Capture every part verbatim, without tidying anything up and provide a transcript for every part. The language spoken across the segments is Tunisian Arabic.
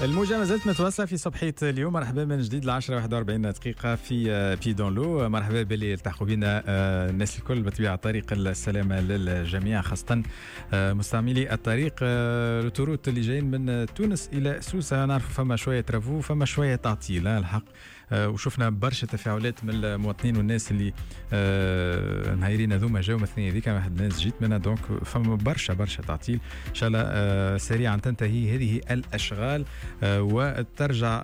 الموجة ما زالت متواصلة في صبحية اليوم. مرحبا من جديد، العشرة واحد وأربعين دقيقة في Pieds dans l'eau. مرحبا باللي التحقوا بنا، آه، الناس الكل. بطبيعة طريق السلامة للجميع، خاصة آه، مستعملي الطريق آه، l'autoroute اللي جايين من تونس إلى سوسة. نعرفوا فما شوية travaux، فما شوية تعطيل الحق، وشفنا برشا تفاعلات من المواطنين والناس اللي نهايرين هذوما جاو مثلا هذيك واحد الناس جيت منها، donc فما برشا برشا تعطيل. ان شاء الله سريعا تنتهي هذه الاشغال آه، وترجع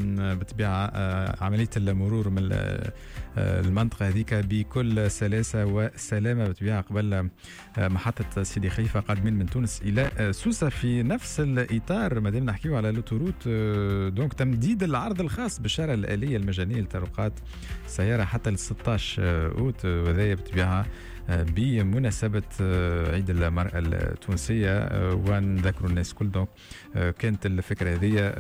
بالطبيعة آه، عملية المرور من آه، المنطقة هذيك بكل سلاسة وسلامه، بالطبيعة قبل محطة سيدي خليفة قادمين من تونس الى سوسه. في نفس الاطار، ما دام نحكيو على l'autoroute، donc تمديد العرض الخاص بالشارع الالية المجانية لطرقات السيارة حتى ل ستاش اوت، وهذا بالطبيعة بمناسبة عيد المرأة التونسية، ونذكروا الناس كل. donc كانت الفكرة هذه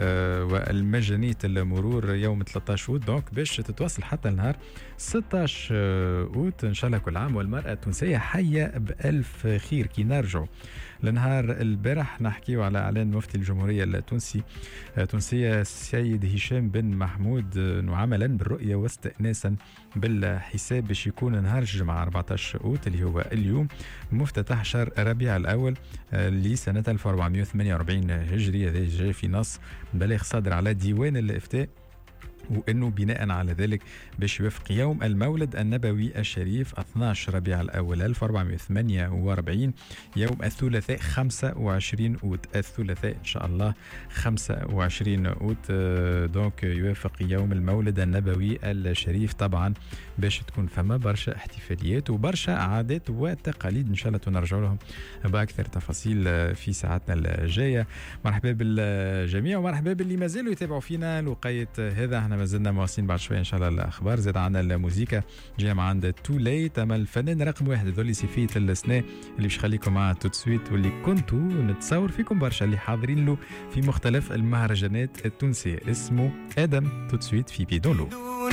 والمجانية المرور يوم ثلاثطاش أوت، donc باش تتواصل حتى النهار ستاش أوت. إن شاء الله كل عام والمرأة التونسية حية بألف خير. كي نرجعوا لنهار البارح، نحكيو على اعلان مفتي الجمهورية التونسي التونسية السيد هشام بن محمود عملا بالرؤية واستئناسا بالحساب باش يكون نهار الجمعة أربعطاش اوت اللي هو اليوم مفتتح شهر ربيع الاول لسنه ألف وأربعمية وثمانية وأربعين هجري. هذا جاء في نص بلاغ صادر على ديوان الافتاء، وانه بناء على ذلك باش يوافق يوم المولد النبوي الشريف اثناش ربيع الاول ألف وأربعمية وثمانية وأربعين يوم الثلاثاء خمسة وعشرين اوت. الثلاثاء ان شاء الله خمسة وعشرين اوت، donc يوافق يوم المولد النبوي الشريف. طبعا باش تكون فما برشا احتفاليات وبرشا عادات وتقاليد، ان شاء الله نرجع لهم باكثر تفاصيل في ساعتنا الجايه. مرحبا بالجميع ومرحبا باللي مازالوا يتابعوا فينا الوقيت هذا. احنا مازلنا مواصلين، بعد شوية ان شاء الله الاخبار، زاد عندنا الموزيكا جاية مع عند too late. اما الفنان رقم واحد هذول صيفية السنة اللي باش يخليكم مع tout de suite، واللي كنتوا نتصور فيكم برشا اللي حاضرين له في مختلف المهرجانات التونسيه، اسمه ادم. tout de suite في Pieds dans l'eau.